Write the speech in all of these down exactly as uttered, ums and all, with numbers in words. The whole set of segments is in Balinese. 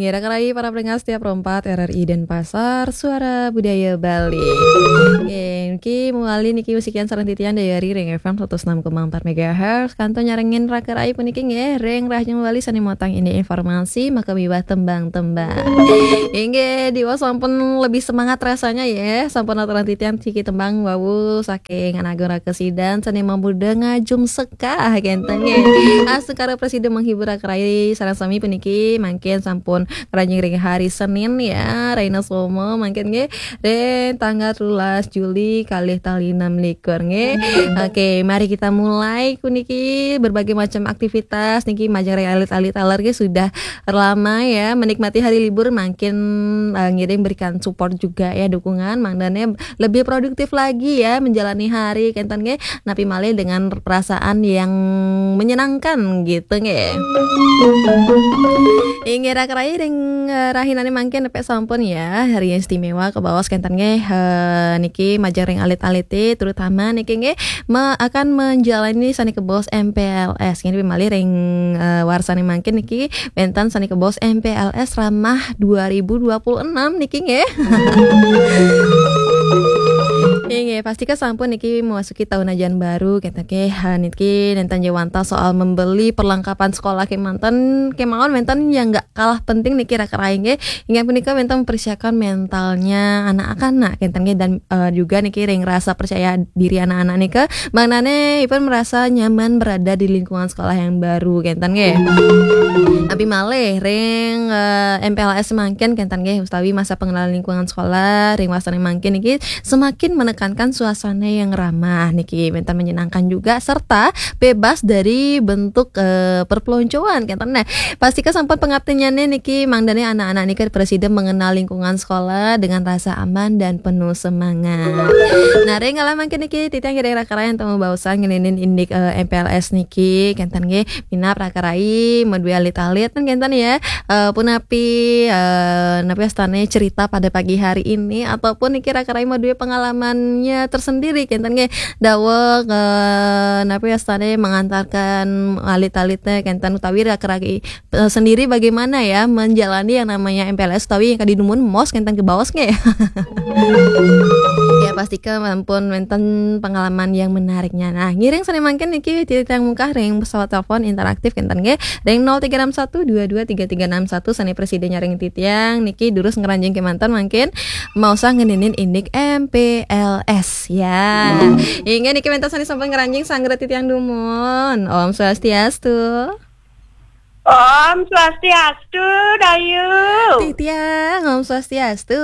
Ira karai para pendengar setia Pro empat R R I Denpasar, Suara Budaya Bali. Nggih, niki mawali niki wasikian sareng titiang Dayari ring F M satus enam koma empat megahertz. Kantun nyarengin raka rai puniki nggih, ring rahajeng Bali sane motang indik informasi, maka miwah tembang-tembang. Inggih, diwaos sampun lebih semangat rasanya ya. Sampun aturang titiang siki tembang wau saking Agung Raka Sidan sane mamurda ngajum sekah kenten nggih. Astungkara prasida menghibur raka rai sareng sami puniki mangkin sampun ngranjing ring hari Senin ya, rahina Soma mangkin nggih. Ring tanggal telulas Juli kalih tali enam likur nggih. Oke, mari kita mulai puniki berbagai macam aktivitas niki majeng ring alit-alit taler nggih sudah lama ya menikmati hari libur mangkin eh, ngiring berikan support juga ya dukungan mangdane lebih produktif lagi ya menjalani hari kenten nggih napi malih dengan perasaan yang menyenangkan gitu nggih. Inggih raka rai ring eh, rahinane mangkin nepek sampun ya hari yang istimewa kebaos kenten nggih eh, niki majeng ring alit-alite terutama niki nggih me- akan menjalani sane kebaos M P L S nggih napi malih ring eh, warsane mangkin niki wenten sane kebaos M P L S Ramah dua ribu dua puluh enam niki nggih. Nggih, pastika sampun niki memasuki tahun ajaran baru kenten nggih. Ha, niki nenten jawanta soal membeli perlengkapan sekolah kemanten kemawon wenten yang nggak kalah penting niki raka rai nggih. Inggih punika wenten mempersiapkan mentalnya anak-anak kenten nggih dan eh, juga niki ring rasa percaya diri anak-anak nika. Mangdane ipun merasa nyaman berada di lingkungan sekolah yang baru kenten nggih. Napi malih ring eh, M P L S mangkin kenten nggih utawi masa pengenalan lingkungan sekolah ring wasane mangkin niki semakin menekankan suasana yang ramah niki wenten menyenangkan juga serta bebas dari bentuk eh, perpeloncoan kenten. Nah, pastika sampun pangaptinyane niki mangdane anak-anak niki prasida mengenal lingkungan sekolah dengan rasa aman dan penuh semangat. Nah, ring kala mangkin niki titiang ngiring raka rai antuk mabaosan ngeninin indik eh, M P L S niki kenten nggih minab raka rai madue alit-alit kan kenten ya. Eh, punapi eh, napi astane cerita pada pagi hari ini ataupun niki raka rai madue pengalamannya tersendiri kenten nggih daweg eh, napi astane mengantarkan alit-alitnya kenten utawi raka rai eh, sendiri bagaimana ya menjalani yang namanya M P L S utawi yang kadi dumun mos kenten kebaos nggih. Ya pastika ampun wenten pengalaman yang menariknya. Nah, ngiring sane mangkin niki titiang mungkah ring pesawat telepon interaktif kenten nggih ring nol tiga enam satu dua dua tiga tiga enam satu sane prasida nyarengin titiang niki durus ngranjing kemanten mangkin maosang ngeninin indik M P L S ya. Inggih niki wenten sane sampun ngranjing sanggra titiang dumun. Om Swastiastu. Om Swastiastu, Dayu. Titiang, Om Swastiastu.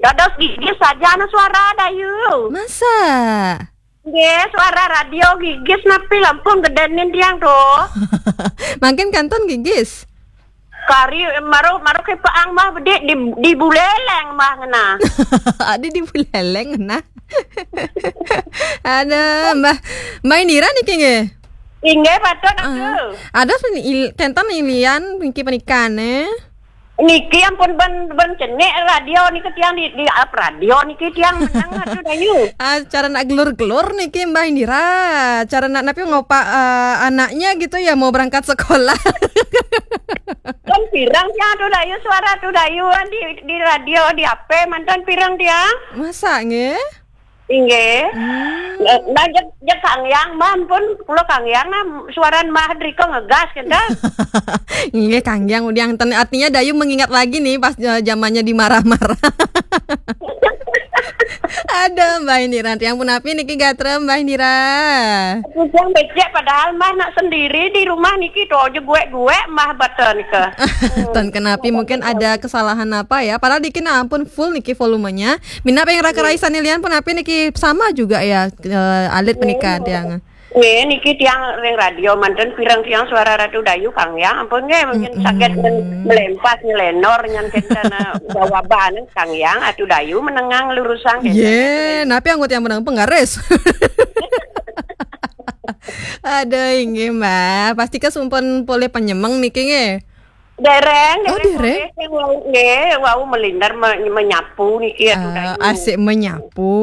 Dados gigis saja anu suara, Dayu. Masa? Nggih, suara radio gigis napi lampun gedenin tiang to. Mangkin kantun gigis. Kari maru maru kepaang mah bedik di di buleleng mah ngena. Adi di buleleng nah. Ada Mbah Mbah Indira niki nggih. Inggih patut aku. Ada il, kenten ilian niki penikane. Niki ampun ben ben cenik radio niki tiang di di ap radio niki tiang menang aduh Dayu. Ah, cara nak gelur-gelur niki Mbah Indira. Cara nak napi ngopak eh, anaknya gitu ya mau berangkat sekolah. Kan pirang tiang aduh Dayu suara aduh Dayu kan di di radio di H P mantan pirang tiang. Masa nggih? Inggih. Hmm. Nah, nah, jeg, jeg Kang Yang, Mbah, ampun, kula Kang Yang, nah, suaran Mbah Drika ngegas, kenten. Nggih, Kang Yang, udah yang ten-, artinya Dayu mengingat lagi nih, pas eh, zamannya dimarah-marah. Ada, Mbah Indira. Yang punapi niki gatra, Mbah Indira. Yang becek, padahal Mbah nak sendiri di rumah niki, to, aja guek-guek, Mbah, bata nika. Ton kenapi, mungkin ada kesalahan apa ya. Padahal niki nah, ampun full niki volumenya. Minab yang raka rai sane lian punapi niki sama juga ya eh, alit pernikahan tiang. Nggih, niki tiang ring radio manten pirang tiang suara Ratu Dayu Kang Yang. Ampun nggih, mungkin sakit men- melempas nyelenor nyan kenten eh, bawa bahan Kang Yang Atu Dayu menengang lurusang kenten. Ye, napi anggo tiang menang penggaris. Ada inggih Mbak, pasti kesumpun polih penyemeng niki nggih. Dereng, Oh, dereng, dereng. Sing wau, nggih, wau melinder me-, menyapu niki, aduh, Ah, Dayu. Asik menyapu.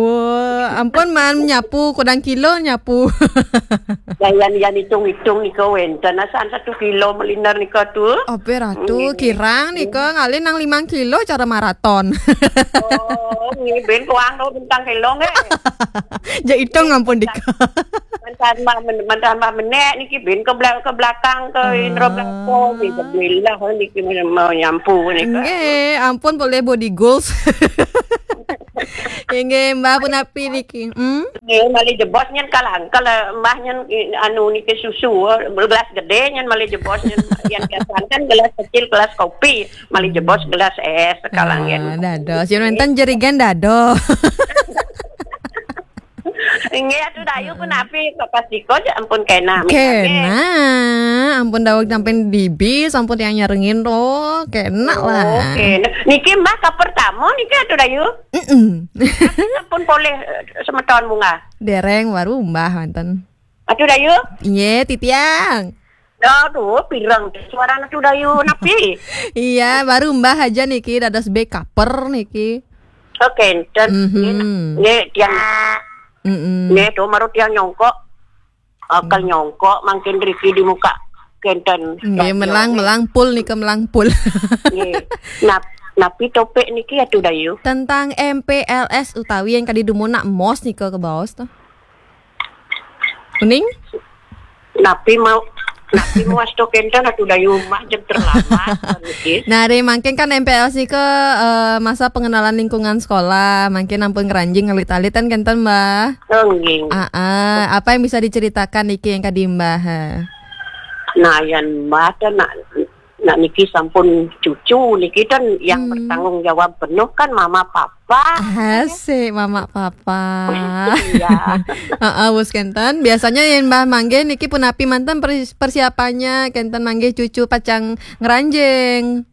Ampun, man, nyapu, kudang kilo nyapu. Ya, yan, yan hitung-hitung nika wenten, asan satu kilo melinder nika tu. Apa ratu, Nggih. Kirang nika, ngalih nang limang kilo cara maraton. Oh, nggih, ben kuang tu bentang kilo, nggih. Ja hitung ampun dika. Mantan mah men-, mantan mah menek niki bin ke bela-, ke belakang ke Ah. Indra belakang, niki kebilah niki men-, menyampu niki. Nggih, ampun boleh body goals. Nggih, Mbah punapi niki. Hmm? Nggih, malih jebos nyen kalang, kalau Mbah nyen, anu niki susu, gelas gede nyen malih jebos nyen, yang biasa kan gelas kecil, gelas kopi, malih jebos gelas es, kalang Ah, nyen. Dados. Yen wenten jerigen dados. Nggih, atuh Dayu punapi kok pas diko aja ampun kena. Kena, ampun daweg sampean dibi, sampun tiang nyarengin, oh, kena lah. Oke. Nah, niki Mbah ka pertama niki atuh Dayu. Mm-mm. Sampun polih, eh, semeton bunga. Dereng baru Mbah wonten. Atuh Dayu. Iya, titiang. Aduh, pireng suarana atuh Dayu napi? Iya, baru Mbah aja niki dados bekaper niki. Oh, kenten. Mhm. Nggih, nggih, tiang. Mm-mm. Nggih, tuh, maru tiang nyongkok. Akal nyongkok, mangkin riki di muka kenten. Nggih, radio, melang, nggih. Melang pul nika, melang pul. Nggih. Nap-, napi topik niki atuh Dayu? Tentang M P L S utawi yang kadi dumunak mos nika kebaos to. Kuning? Napi mau, napi mau asto kenten atuh Dayu mah jeng terlambat niki. Nah, dari mangkin kan M P L S nika, eh, masa pengenalan lingkungan sekolah, mangkin ampun ngranjing alit-alitan kenten, Mbah. Oh, nggih. Ah, ah. Apa yang bisa diceritakan niki yang kadi Mbah, ha? Nah, yan Mbah teh nak, nak niki sampun cucu niki kan yang Hmm. bertanggung jawab penuh kan mama papa. Asik, mama papa. Iya. Heeh, Bos Kenten. Biasanya yang Mbah manggih niki punapi manten pers-, persiapannya, Kenten manggih cucu pacang ngranjing.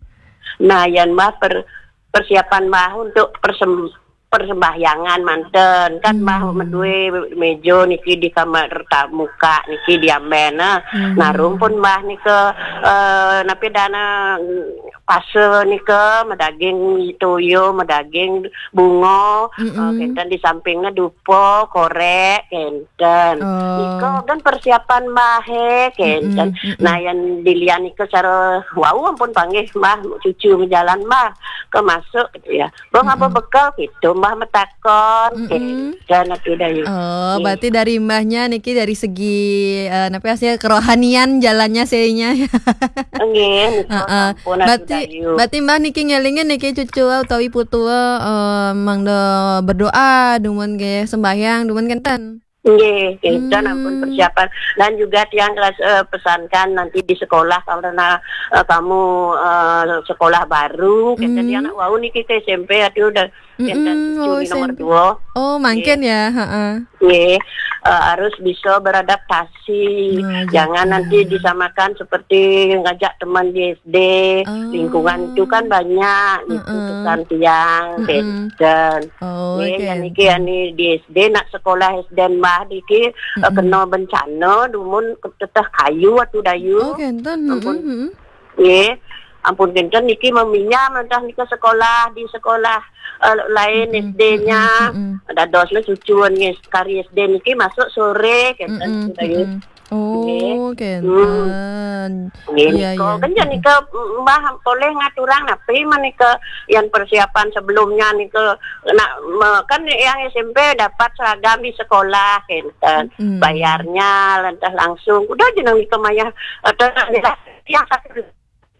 Nah, yan Mbah per-, persiapan Mbah untuk persem-, persembahyangan manten. Kan Mbah Hmm. medue meja niki di kamar tamuka niki diamben, nah. Hmm. Nah, rumpun Mbah nika, eh, napi dana, mm, pase nika, medaging toyo, medaging bunga, Mm-mm. eh, kenten di sampingnya dupa, korek, kenten. Oh. Nika kan persiapan Mbah, he, kenten. Mm-mm, mm-mm. Nah, yang dilian nika cara wau ampun panggih Mbah, cucu jalan Mbah, ke masuk gitu ya. Bang, apa Mm-mm. bekal gitu, Mbah metakon. Mm-mm. Eh, dan aku dah yuk. Oh, Nggih. Berarti dari Mbahnya niki dari segi, eh, napa ya, kerohanian jalannya seinya. Nggih, nika Heeh. Sampun aku Berarti, dah yuk. Berarti Mbah niki ngelingin niki cucu utawi putu, eh, mangda berdoa, dumun nggih sembahyang, dumun kenten. Nggih, kenten ampun Hmm. persiapan. Dan juga tiang kelas, eh, pesankan nanti di sekolah karena, eh, kamu, eh, sekolah baru, kenten Hmm. tiang nak wau niki ke S M P, aduh, udah kenten Mm-mm, cucu oh, ni nomor S M P. Dua. Oh, mangkin Nggih. Ya, heeh. Nggih, eh, harus bisa beradaptasi. Nah, Jangan gitu. Nanti disamakan seperti ngajak teman di S D. Oh. Lingkungan itu kan banyak, gitu, Heeh. Pesan tiang, Mm-mm. kenten. Oh, Nggih, yang kenten. Niki, yang ni di S D, nak sekolah S D Mbah niki, eh, Mm-mm. Kena bencana, dumun teteh kayu atuh Dayu. Oh, kenten. Ampun. Mm-mm, mm-mm. Nggih. Ampun kenten niki meminya mentah nika sekolah di sekolah, eh, lain Mm-mm, S D-nya. Mm-mm, mm-mm. Dadosnya cucuan nggih, sekali S D niki masuk sore kenten Mm-mm, sudah nggih. Mm-mm. Oh, nggih. Kenten. Hmm. Nggih, iya, nika. Iya. Kan jan nika Mbah boleh ngaturang napi menika yang persiapan sebelumnya nika nak me-, kan yang S M P dapat seragam di sekolah kenten. Mm-mm. Bayarnya lantas langsung. Udah jeneng nika mayah, eh, yang satu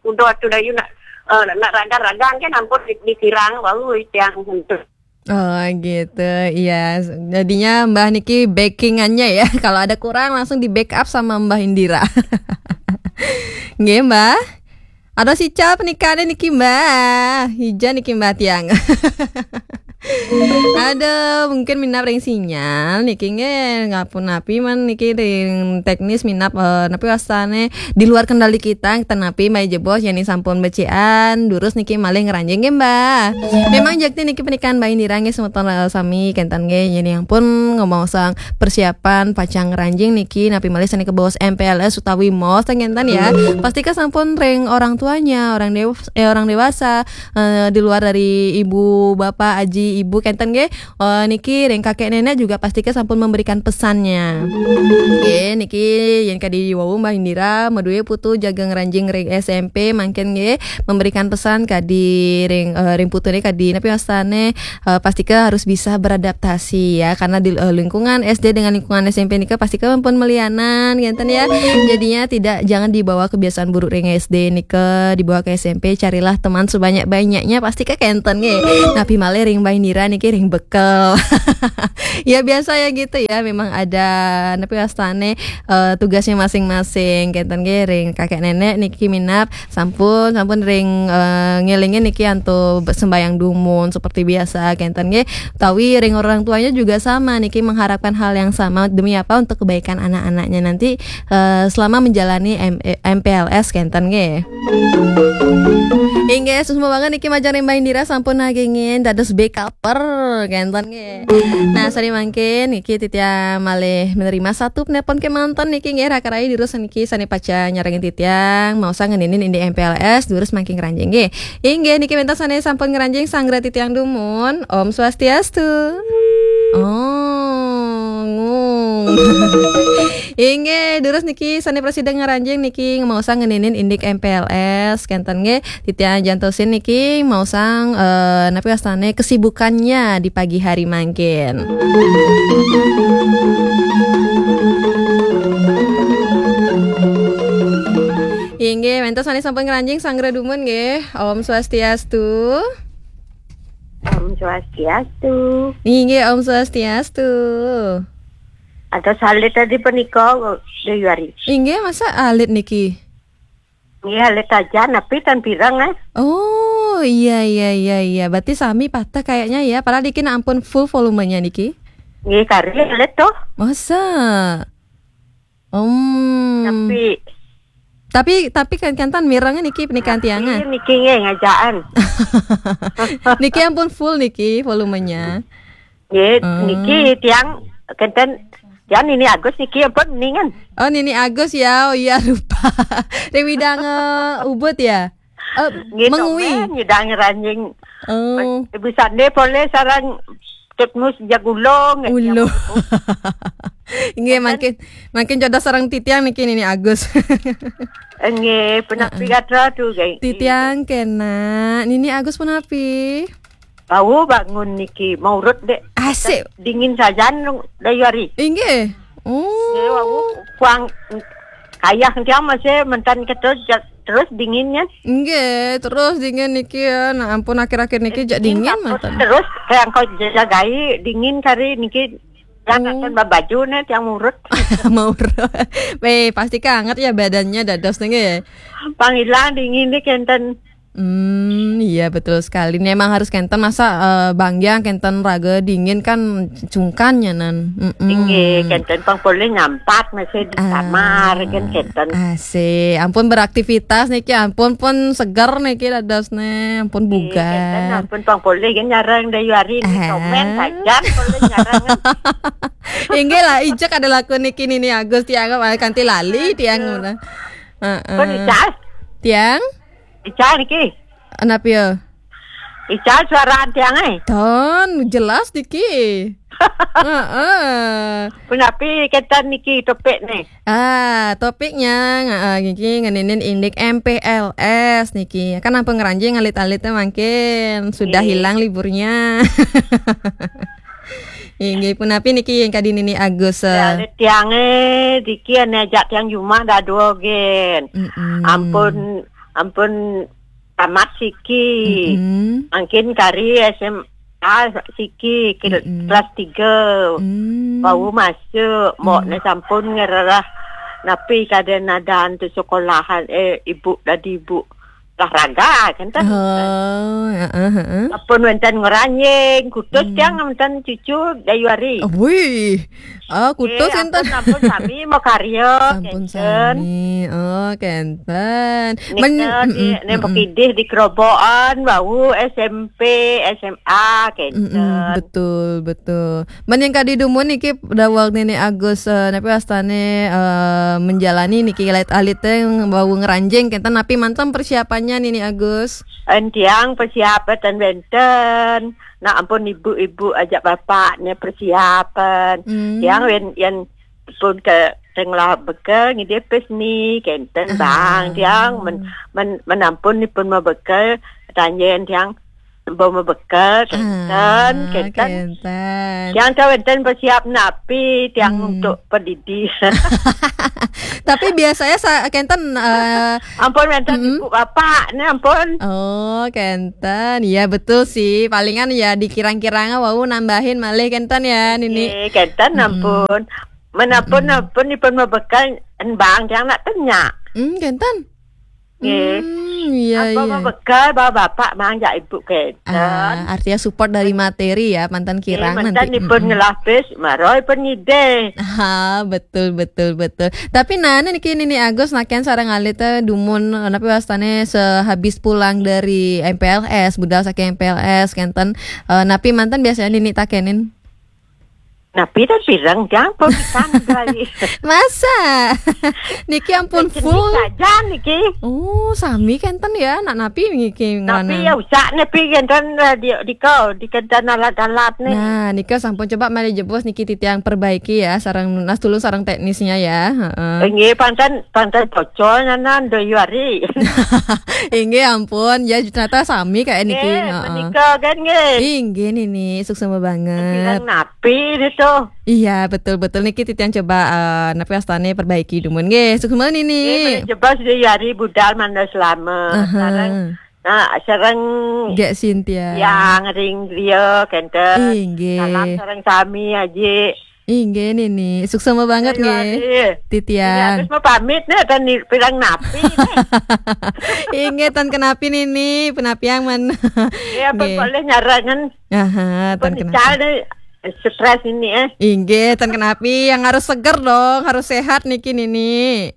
Udah atuh Dayu nak, eh, nak ragan-ragan kan ampun di-, dikirang baru tiang hentu. Oh, gitu. Iya, jadinya Mbah niki backingannya ya. Kalau ada kurang langsung di-backup sama Mbah Indira. Nggih, Mbah. Ada sical pernikahannya niki, Mbah. Hija niki, Mbah tiang. Aduh, mungkin minab ring sinyal niki nggih, ngampun napi man niki ring teknis minab, eh, napi wastane di luar kendali kita, ten napi mai jebos, yeni sampun becikan, durus niki malih ngranjing nggih, Mbah. Memang jakti niki pernikahan Mbah Indira nggih semeton, eh, sami kenten nggih, yeni ampun ngomong sang persiapan pacang ngranjing niki, napi malih sane kabaos M P L S utawi mos ten kenten ya. Pastika sampun ring orang tuanya, orang dew-, eh, orang dewasa, eh, di luar dari ibu, bapak, aji, ibu kenten nggih. Eh, niki ring kakek nenek juga pastika sampun memberikan pesannya. Nggih, niki yen kadi wau Mbah Indira, madue putu jaga ngranjing ring S M P mangkin nggih, memberikan pesan kadi ring, eh, ring putune kadi napi wastane, eh, pastika harus bisa beradaptasi ya, karena di, eh, lingkungan S D dengan lingkungan S M P nika pastika pun melianan kenten ya. Jadinya tidak, jangan dibawa kebiasaan buruk ring S D nika dibawa ke S M P, carilah teman sebanyak-banyaknya, pastika kenten nggih. Napi malih ring Mbah Indira niki ring bekel. Ya biasa ya gitu ya, memang ada napi wastane, eh, tugasnya masing-masing kenten nggih. Ring kakek nenek niki minab sampun, sampun ring, eh, ngelingin niki antuk sembahyang dumun seperti biasa kenten nggih. Utawi ring orang tuanya juga sama niki mengharapkan hal yang sama, demi apa? Untuk kebaikan anak-anaknya nanti, eh, selama menjalani M-, eh, M P L S kenten nggih. Inggih, suksma banget niki majeng ring Mbah Indira sampun nagingin dados backuper kenten nggih. Nah, sane mangkin niki titiang malih menerima satu penelpon kemanten niki nggih, raka rai durus niki sane pacang nyarengin titiang, maosang ngeninin indik M P L S, durus mangkin ngranjing nggih. Inggih, niki wenten sane sampun ngranjing, sanggra titiang dumun. Om Swastiastu. Oh, ngung. Inggih, durus niki sane prasida ngranjing niki maosang ngeninin indik M P L S kenten nggih. Titiang jantosin niki maosang, eh, napi wastane kesibukannya di pagi hari mangkin. Inggih, wenten sane sampun ngranjing, sanggra dumun nggih. Om Swastiastu. Om Swastiastu. Inggih, Om Swastiastu. Ada salit tadi penika, Dewi Ari. Inggih, masa alit niki? Nggih, alit aja, napi tan pirang, eh. Oh, iya, iya, iya, iya. Berarti sami patah kayaknya ya. Padahal niki ampun full volumenya niki. Nggih, kari alit tuh. Masa? Om. Tapi tapi, tapi kan kenten mireng niki pernikahan tiangan. Niki nggih ngajaan. Niki ampun full niki volumenya. Nggih, oh. Niki tiang kenten, tiang nini Agus niki ampun ningan. Oh, nini Agus ya. Oh iya, lupa. Ring Widang, eh, Ubud ya? Oh, nggih, Mengwi. Nyidang ranjing. Oh. Ibu Sande poleh sarang Tut Mus Jagulong. Ulo. Nggih, mangkin, mangkin jodoh sareng titiang niki nini Agus. Nggih, punapi gatra tu, nggih. Titiang kena. Nini Agus punapi? Bau bangun niki, maurut dek. Asik. Dingin sajan, Dayuari. Inggih. Oh. Nggih, wau kuang kayah tiang masih mentan ketus terus dinginnya. Nggih, terus dingin niki ya. Nah, ampun akhir-akhir niki jak dingin manten. Terus kayak kau jagai dingin kari niki yang akan babaju nih tiang murut. Murut. Weh, pasti kanget ya badannya dados niki ya. Pang ilang dingin nih kenten. Hmm, iya betul sekali. Memang harus kenten masa, eh, banggiang kenten raga dingin kan cungkan nyanan. Mm-mm. Inggih, kenten pang poleh nyampat masih di kamar kan kenten. Asik. Ampun beraktivitas niki, ampun pun seger niki dadosne, ampun bugar. Kenten ampun pang poleh kan nyarang Dayuari ni komen saja poleh nyarang. Inggih lah, ijek ada laku niki nini Agus tiang apa kanti lali tiang ngono. Heeh. Pun Ical. Tiang? Ical niki. Kenapa ya? Ical suara tiang eh. Ton, jelas niki. Heeh. Punapi kenten niki topik nih. Ah, topiknya, ah, niki ngeninin indik M P L S niki. Kan ampun ngranjing alit-alitnya mangkin sudah hilang liburnya. Inggih punapi niki yang kadi nini Agus, eh. Ya, alit tiange diki ane ajak tiang jumah dadua gen. Mm-mm. Ampun, ampun tamat siki. Mm-mm. Mangkin kari S M A siki, kil-, kelas tiga. Mm. Bau masuk, mbok ne sampun ngererah napi kada nadan tu sekolahan, eh, ibu dadi ibu. olahraga, kan ten. Oh, heeh, heeh. Ampun wénten ngranjing, kutus Hmm. tiang wénten cucu Dayuari. Oh, wih. Ah, kutus Nggih, kan ten. Ampun, ampun sami makarya, Ampun kenten. sami. Oh, kenten. Nika Men-, di, mm-mm, nek mm-mm. Pekidih di Kerobokan, wau S M P, S M A, kenten. Mm-mm, betul, betul. Men yang kadi dumun niki daweg Nini Agus, eh, napi wastane, eh, menjalani niki alit-alit teh wau ngranjing kenten, napi manten persiapannya Nini Agus? En tiang persiapan ten wénten. Nah, ampun ibu-ibu ajak bapak ne persiapan. Hmm. Tiang wen, yen pun ke tengah bekel ngidih pes ni kenten Ah. bang. Tiang men, men, menampun ni pun mabekel, tanjen tiang bau mabekel, kenten, Ah, kenten. kenten. Tiang tahu enten bersiap napi, tiang Hmm. untuk pedidi. Tapi biasanya sa-, kenten, eh, Ampun, wénten Mm-mm. ibu bapak, ne ampun. Oh, kenten. Ya, betul sih. Palingan ya dikirang-kirang wau nambahin malih kenten ya, Nini. Nggih, kenten Mm-mm. ampun. Menampun, Mm-mm. ampun, ipun mabekel, en bang, tiang nak tanya. Hmm, kenten. Nggih. Hmm, iya, Apa iya. mabekel, bawa bapak, mang, jak ibu, kenten. Ah, artinya support dari materi ya, manten Nggih, kirang manten nanti. ipun Mm-mm. ngelah bis, maro ipun ngidih. Ah, betul, betul, betul. Tapi nah, niki Nini Agus naken sareng alit, eh, dumun, eh, napi wastane sehabis pulang dari M P L S, budal saking M P L S, kenten, eh, napi manten biasanya Nini takenin? Napi ten pireng, tiang pun pisan kali. Masa? Niki ampun Jenis full. Saja niki. Oh, sami kenten ya, nak napi niki Napi ngrana. Ya usah napi kenten, eh, di, di kau, di kenten alat-alat nih. Nah, nika sampun coba malih jebos niki titiang perbaiki ya, sareng nunas tulung sareng teknisnya ya. Heeh. Nggih, panten, panten bocor nyanan Dayuari. Inggih ampun, ya ternyata sami kayak niki. Nggih, Heeh. Menika kan nggih. Inggih Nini, suksma banget. Bilang napi itu. Iya, betul, betul. Niki titiang coba, eh, napi wastane perbaiki dumun. Nggih, suksma Nini. Nggih, coba Dayuari budal mangda selama. Aha. Sekarang, nah, sareng Gek Cynthia. Yang ring griya kenten. Inggih. Salam sareng sami aji. Inggih Nini, suksma banget Ayo, nggih. Adi. Titiang. Iya, terus mau pamit nih, ten ni-, pirang napi nih. Inggih, ten kenapi Nini, penapi yang men. Iya, pun Nggih. Boleh nyarangan. Aha, Pun ten kenapi. Ical nih, stres ini, eh. Inggih, ten kenapi yang harus seger dong, harus sehat niki Nini.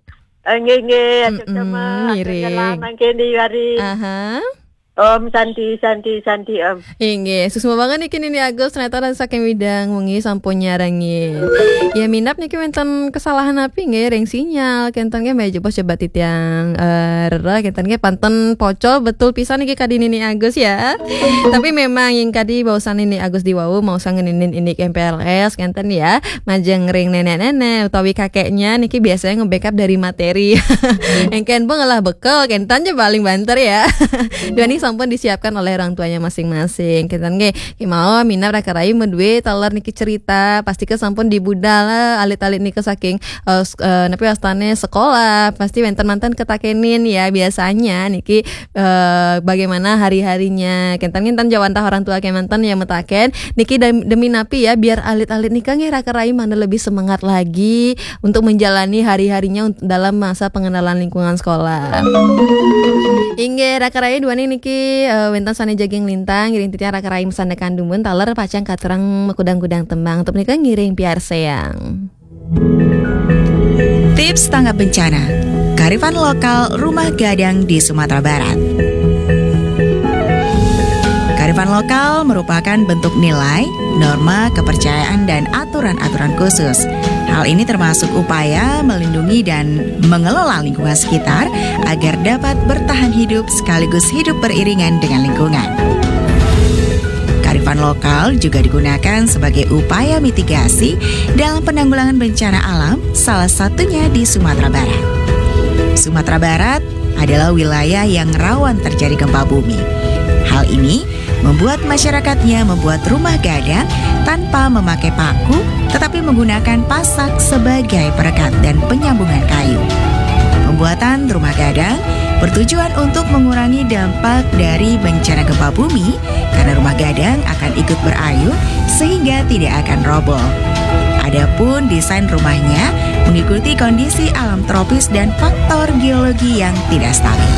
Eh, nggih, nggih, Mm-mm, sama. Ngiring. Salam mangkin di hari. Aha. Om Santi, Santi, Santi, Om. Inggih, suksma banget niki Nini Agus, ternyata ran saking Widang wengi sampun nyarengi. Ya minab niki wénten kesalahan napi nggih ring sinyal, kenten nggih malih jebos coba titiang, eh, rereh kenten nggih panten pocol betul pisan niki kadi Nini Agus ya. Tapi memang yang kadi baosan Nini Agus di wau maosang ngeninin indik M P L S kenten ya. Majeng ring nenek-nenek utawi kakeknya niki biasanya nge-backup dari materi. Engken pun ngelah bekel, kenten je paling banter ya. Duaning sampun disiapkan oleh orang tuanya masing-masing. Kenten nggih, kemawon minab raka rayi madue taler niki cerita, pasti ke sampun dibudal alit-alit nika saking, eh, s-, eh, napi wastane sekolah, pasti wénten manten ketakenin ya biasanya niki eh, bagaimana hari-harinya. Kenten nginten jawantah orang tua kemanten ya metaken. Niki dem-, demi napi ya, biar alit-alit nika nggih raka rayi mangda lebih semangat lagi untuk menjalani hari-harinya unt-, dalam masa pengenalan lingkungan sekolah. Inggih, raka rayi duaning niki, eh, wénten sane jagi nglintang, ngiring titiang raka rayi masandekan dumun taler pacang katurang makudang-kudang tembang. Untuk menika ngiring piarsayang. Tips tanggap bencana. Kearifan lokal rumah gadang di Sumatera Barat. Kearifan lokal merupakan bentuk nilai, norma, kepercayaan, dan aturan-aturan khusus. Hal ini termasuk upaya melindungi dan mengelola lingkungan sekitar agar dapat bertahan hidup sekaligus hidup beriringan dengan lingkungan. Kearifan lokal juga digunakan sebagai upaya mitigasi dalam penanggulangan bencana alam, salah satunya di Sumatera Barat. Sumatera Barat adalah wilayah yang rawan terjadi gempa bumi. Hal ini membuat masyarakatnya membuat rumah gadang tanpa memakai paku, tetapi menggunakan pasak sebagai perekat dan penyambungan kayu. Pembuatan rumah gadang bertujuan untuk mengurangi dampak dari bencana gempa bumi, karena rumah gadang akan ikut berayun sehingga tidak akan roboh. Adapun desain rumahnya mengikuti kondisi alam tropis dan faktor geologi yang tidak stabil.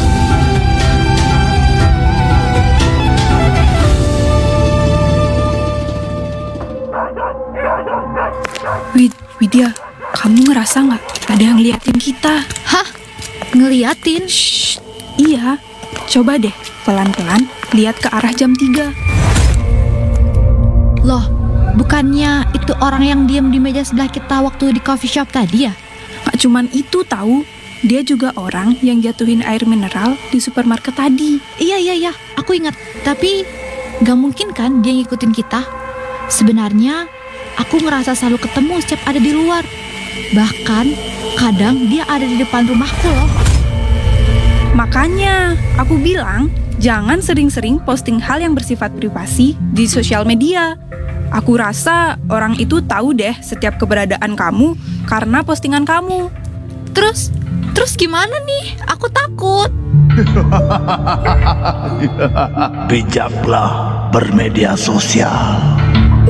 Widya, kamu ngerasa nggak ada yang liatin kita? Hah? Ngeliatin? Shh, iya. Coba deh, pelan-pelan lihat ke arah jam tiga. Loh, bukannya itu orang yang diem di meja sebelah kita waktu di coffee shop tadi ya? Nggak cuman itu tahu, dia juga orang yang jatuhin air mineral di supermarket tadi. Iya, iya, iya, aku ingat. Tapi gak mungkin kan dia ngikutin kita? Sebenarnya aku ngerasa selalu ketemu setiap ada di luar. Bahkan kadang dia ada di depan rumahku loh. Makanya aku bilang, jangan sering-sering posting hal yang bersifat privasi di sosial media. Aku rasa orang itu tahu deh setiap keberadaan kamu karena postingan kamu. Terus, terus gimana nih? Aku takut. Bijaklah bermedia sosial.